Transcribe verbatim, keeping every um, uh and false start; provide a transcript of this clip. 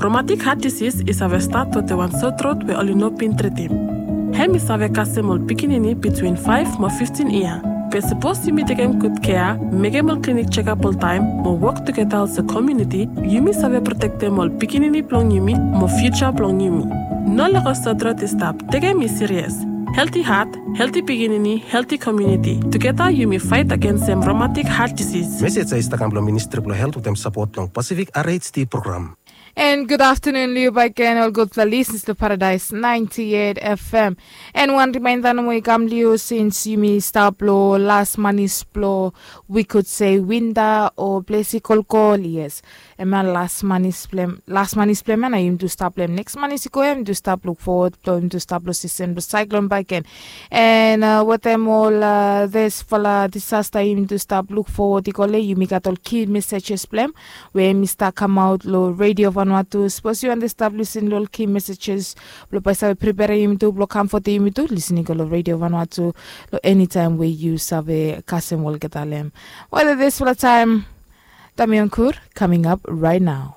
Romatik hat disis i save stat wetem wan sotrot we oli no bin tretim. Hem i save kasem ol pikinini bitwin faef mo fiftin yia. Be sapos yumi tekem gud kea, mekem ol klinik jekap oltaem mo wok tugeta olsem komuniti, yumi save protektem ol pikinini blong yumi mo fiuja blong yumi. No lego sotrot i stap. Tekem i sirias. Helti hat, helti pikinini, helti komuniti. Tugeta yumi faet agensem romatik hat disis. Mesej ya i stap kam blong Ministri blong Helt wetem sapot blong Pasifik R H D program. And good afternoon liu baik gen ol gudfala lisens long Paradise ninety-eight F M. And wan rimainda nomo i kam liu sins yumi stap long las manis blong wi kud se winda o ples i kolkol, yes. Em ya las manis blem las manis blem ya na yumi tu stap blem neks manis i go ya yumi tu stap luk fowod blong yumi tu stap long sisen blong saiklon baik gen. And uh, wetem ol uh, desfala disasta yumi tu stap luk fowod i go le yumi gat ol ki mesejes blem we em i stap kamaot long redio Vanuatu. Sapos yu wante stap lisin long ol ki mesejes blong bai save pripere yumi tu blong kamfote yumi tu lisin i go long redio Vanuatu long enitaem we yu save kasem olgeta lem. Wele desfala taem Damion Kur coming up right now.